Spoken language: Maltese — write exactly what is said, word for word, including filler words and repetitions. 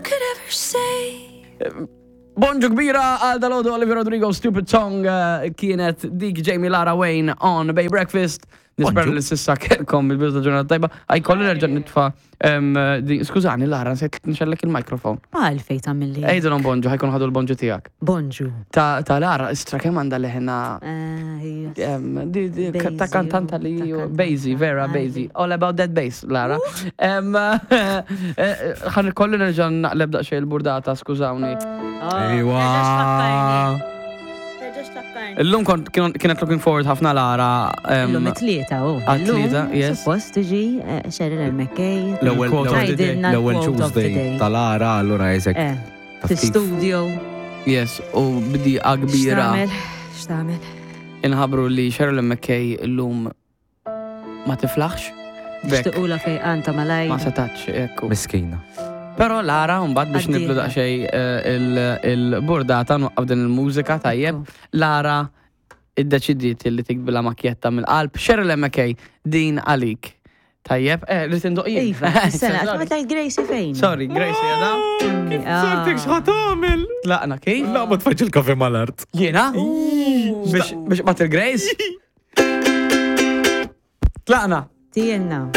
could ever say? Bonġu kbira għal dalgħodu. Olivia Rodrigo, "Stupid Song" eh, kienet dik. Jamie, Lara, Wayne on Bay Breakfast. Nispera Bonġu. li s'issa kellkom il-bidu ta' ġurnata tajba. Għaj kolli nerġa' nitfa. em, di- Skużani, Lara, nsejt nixgħellek il-mikrofon. Għalfejn tagħmilli. Għidilhom bonġu, ħa jkunu ħadu l-bonġu tiegħek. Bonġu. Ta' ta' Lara, istra kemm għandha leħna Eh, yes. em, di- di- ta' Bassy, kantanta li ta' ju- kantanta. Bassy, vera bassy. All about that bass, Lara. Em, eh, Ħan kolli nerġa' naqleb daqsxejn il-burdata, skużawni. Ejwa. Illum kont kien- kienet looking forward ħafna Lara. em, Illum it-tlieta, u. Għat-tlieta, yes. Suppost tiġi eh, Sheryl McKay. L-ewwel Quote of the day. Tgħidilna l-ewwel l-quote of the Tuesday day. tal-ara allura jisek. Eh, fi-studio. Yes, u b'diqa kbira X'tagħmel? X'tagħmel? inħabru li Sheryl McKay illum ma tiflaħx. Bekk Xtiqula fejqan ta' malaj. ma setax, ekku. Miskina. Pero Lara, mbagħad biex Għaddiha. niblu daqsxejn eh, il- il-burdata nwaqqaf din il-mużika tajjeb. Lara iddeċidiet li tiktbilha makjetta mill-qalb. Sheryl McKay, din għalik. Tajjeb, eh, li tindoq jien. Iva, sena, ma tajt Gracie fejn? Sorry, Gracie, jada. Ah. Sartik x'ħa tagħmel? Tlaqna kif? La, ma tfaġ il-kafe mal-art. Jiena? Biex biex bat il-Grace? Tlaqna. Tienna.